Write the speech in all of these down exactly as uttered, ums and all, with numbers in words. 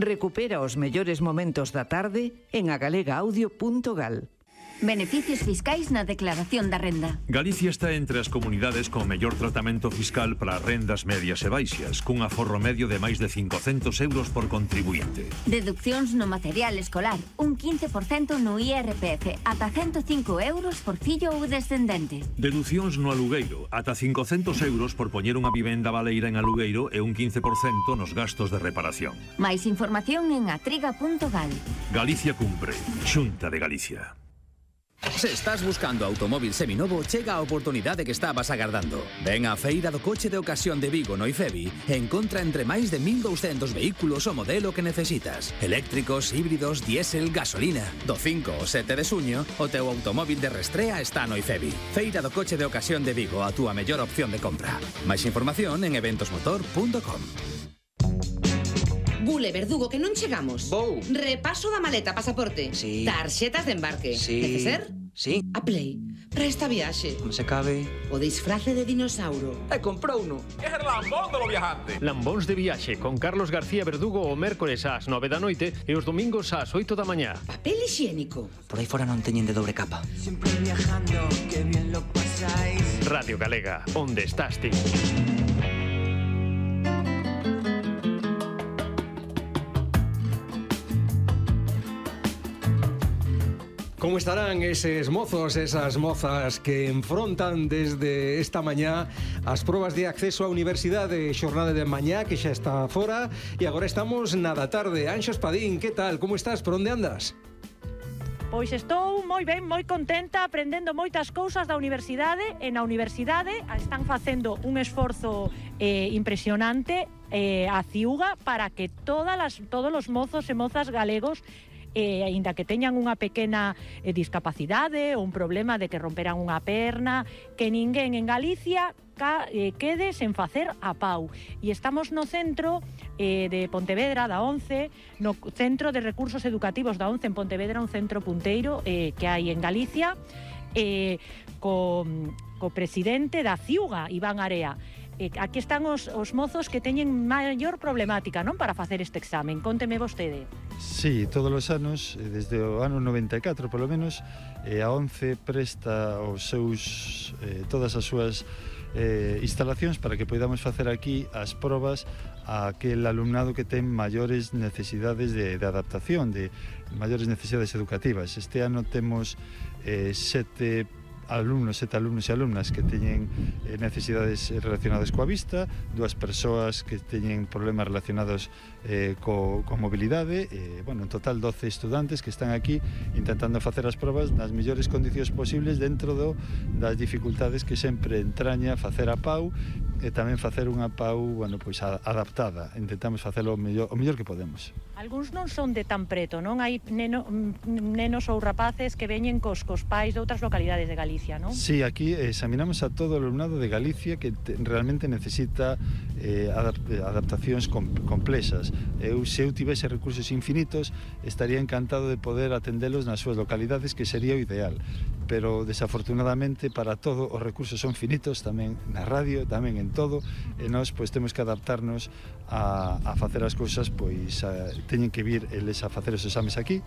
Recupera os mellores momentos da tarde en agalega-audio punto gal. Beneficios fiscais na declaración da renda. Galicia está entre as comunidades con mellor tratamento fiscal para rendas medias e baixas, cun aforro medio de máis de cincocentos euros por contribuinte. Deduccións no material escolar, un quince por cento no I R P F, ata ciento cinco euros por fillo ou descendente. Deducións no alugueiro, ata cincocentos euros por poñer unha vivenda baleira en alugueiro e un quince por cento nos gastos de reparación. Máis información en atriga punto gal. Galicia cumpre. Xunta de Galicia. Se estás buscando automóvil seminovo, chega a oportunidade que estabas agardando. Ven á Feira do Coche de Ocasión de Vigo no IFEBI e encontra entre máis de mil douscentos vehículos o modelo que necesitas. Eléctricos, híbridos, diésel, gasolina. Do cinco ao sete de suño, o teu automóvil de restrea está no IFEBI. Feira do Coche de Ocasión de Vigo, a túa mellor opción de compra. Máis información en eventos motor punto com. Bule, Verdugo, que non chegamos. Vou. Repaso da maleta, pasaporte. Sí. Tarxetas de embarque. Sí. Neceser? Sí. A Play. Para esta viaxe. Non se cabe. O disfrace de dinossauro. E comprou uno. É o lambón de lo viajante. Lambóns de viaxe con Carlos García Verdugo o mércores ás nove da noite e os domingos ás oito da mañá. Papel higiénico. Por aí fora non teñen de dobre capa. Siempre viajando, que bien lo pasáis. Radio Galega, onde estás ti? Como estarán eses mozos, esas mozas que enfrontan desde esta mañá as probas de acceso á universidade, xornada de mañá que xa está fora, e agora estamos na da tarde. Anxo Espadín, que tal? Como estás? Por onde andas? Pois estou moi ben, moi contenta, aprendendo moitas cousas da universidade, e na universidade están facendo un esforzo eh, impresionante eh, a Ciuga para que todas las, todos os mozos e mozas galegos, eh, aínda que teñan unha pequena eh, discapacidade ou un problema de que romperan unha perna, que ninguén en Galicia ca, eh, quede sen facer a pau. E estamos no centro eh, de Pontevedra, da ONCE, no Centro de Recursos Educativos da ONCE en Pontevedra, un centro punteiro eh, que hai en Galicia, eh, co, co presidente da Ciuga, Iván Area. Eh, aquí están os, os mozos que teñen maior problemática, non, para facer este examen. Cónteme vostede. Sí, todos os anos, desde o ano noventa e catro polo menos, eh, a ONCE presta os seus, eh, todas as súas eh, instalacións para que podamos facer aquí as probas a aquel alumnado que ten maiores necesidades de, de adaptación, de maiores necesidades educativas. Este ano temos eh, sete alumnos, sete alumnos e alumnas que teñen eh, necesidades relacionadas coa vista, dúas persoas que teñen problemas relacionados eh, co, co mobilidade, e, bueno, en total doce estudantes que están aquí intentando facer as probas nas mellores condicións posibles dentro do, das dificultades que sempre entraña facer a pau e tamén facer unha pau, bueno, pois adaptada. Intentamos facelo o mellor, o mellor que podemos. Algúns non son de tan preto, non? Hai neno, nenos ou rapaces que veñen cos, cos pais de outras localidades de Galicia, non? Sí, aquí examinamos a todo o alumnado de Galicia que te, realmente necesita eh, adap adaptacións com, complexas. Eu, se eu tivese recursos infinitos, estaría encantado de poder atendelos nas súas localidades, que sería o ideal. Pero, desafortunadamente, para todo os recursos son finitos, tamén na radio, tamén en todo, e nós pois temos que adaptarnos a, a facer as cousas, pois a, teñen que vir eles a facer os exames aquí.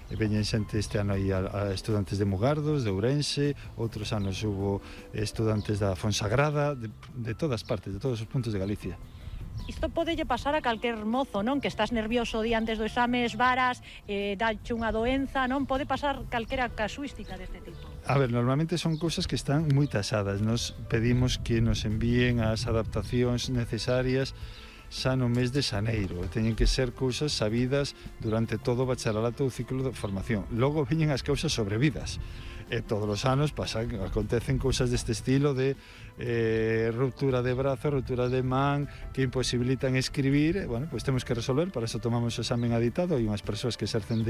E veñen xente este ano aí a, a estudantes de Mugardos, de Ourense, outros anos hubo estudantes da Fonsagrada, de, de todas partes, de todos os puntos de Galicia. Isto podelle pasar a calquer mozo, non? Que estás nervioso día antes do exame, esvaras, eh, dache unha doenza, non? Pode pasar calquera casuística deste tipo. A ver, normalmente son cousas que están moi tasadas. Nos pedimos que nos envíen as adaptacións necesarias xa no mes de xaneiro. Teñen que ser cousas sabidas durante todo o bacharelato ou ciclo de formación. Logo veñen as cousas sobrevidas. E todos os anos pasan, acontecen cousas deste estilo de eh, ruptura de brazo, ruptura de man, que imposibilitan escribir. E, bueno, pois temos que resolver, para eso tomamos o examen aditado. Hai unhas persoas que exercen de